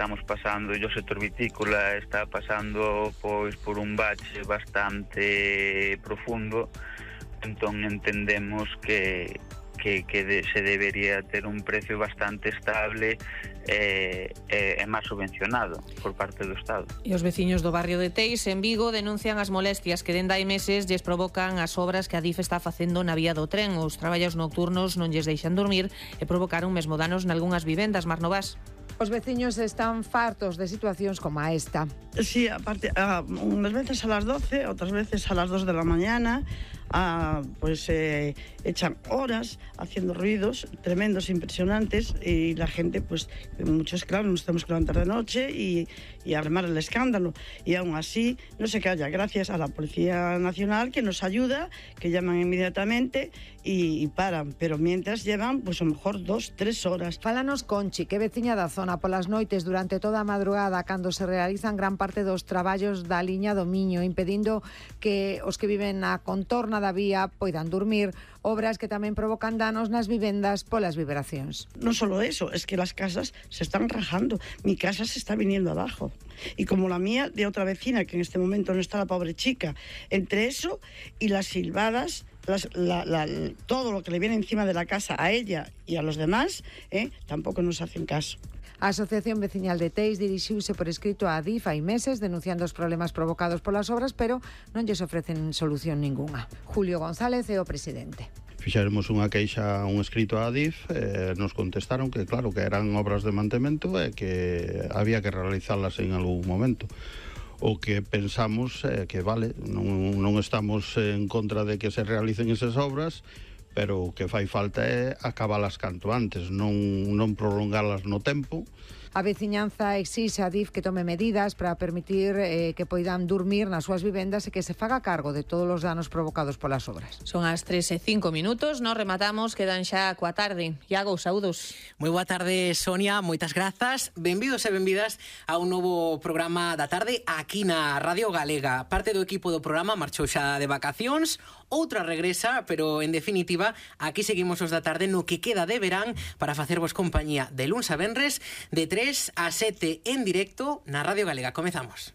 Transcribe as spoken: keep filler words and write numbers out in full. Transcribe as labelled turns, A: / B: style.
A: estamos pasando, e o sector vitícola está pasando pois por un bache bastante profundo, entón entendemos que que, que de, se debería ter un precio bastante estable e, e, e máis subvencionado por parte do Estado.
B: E os veciños do barrio de Teis, en Vigo, denuncian as molestias que dende hai meses lles provocan as obras que a DIF está facendo na vía do tren. Os traballos nocturnos non lles deixan dormir e provocaron mesmo danos nalgunhas vivendas. Mar Novas.
C: Os veciños están fartos de situacións como a esta.
D: Sí, aparte, a, unas veces a las doce, otras veces a las dos de la mañana, a, pues eh, echan horas haciendo ruidos tremendos, impresionantes, y la gente, pues, muchos, claro, nos tenemos que levantar de noche y, y armar el escándalo. Y aún así, no se calla, gracias a la Policía Nacional, que nos ayuda, que llaman inmediatamente y, y paran, pero mientras llevan, pues a lo mejor dos, tres horas.
C: Fálanos Conchi, que veciña da zona polas noites durante toda a madrugada cando se realizan gran parte dos traballos da liña do Miño, impedindo que os que viven na contorna da vía poidan dormir, obras que tamén provocan danos nas vivendas polas vibracións.
D: No solo eso, es que las casas se están rajando, mi casa se está viniendo abajo, y como la mía de otra vecina, que en este momento no está, la pobre chica, entre eso y las silbadas, Las, la, la, todo lo que le viene encima de la casa a ella y a los demás, eh, tampoco nos hacen caso.
C: A Asociación Veciñal de Teis dirixiuse por escrito á DIF hai meses denunciando os problemas provocados polas obras, pero non lles ofrecen solución ningunha. Julio González é o presidente.
E: Fixéramos unha queixa, un escrito á DIF, eh, nos contestaron que claro, que eran obras de mantemento e que había que realizalas en algún momento. O que pensamos é eh, que, vale, non, non estamos en contra de que se realicen esas obras, pero o que fai falta é acabalas canto antes, non, non prolongalas no tempo.
C: A veciñanza exixe a DIF que tome medidas para permitir eh, que poidan dormir nas súas vivendas e que se faga cargo de todos os danos provocados polas obras.
B: Son as tres e cinco minutos, nos rematamos, quedan xa coa tarde. Iago, saúdos.
F: Moi boa tarde, Sonia, moitas grazas. Benvidos e benvidas a un novo programa da tarde aquí na Radio Galega. Parte do equipo do programa marchou xa de vacacións, outra regresa, pero en definitiva, aquí seguimos os da tarde no que queda de verán para facervos compañía de luns a venres de tres a sete en directo na Radio Galega. Comezamos.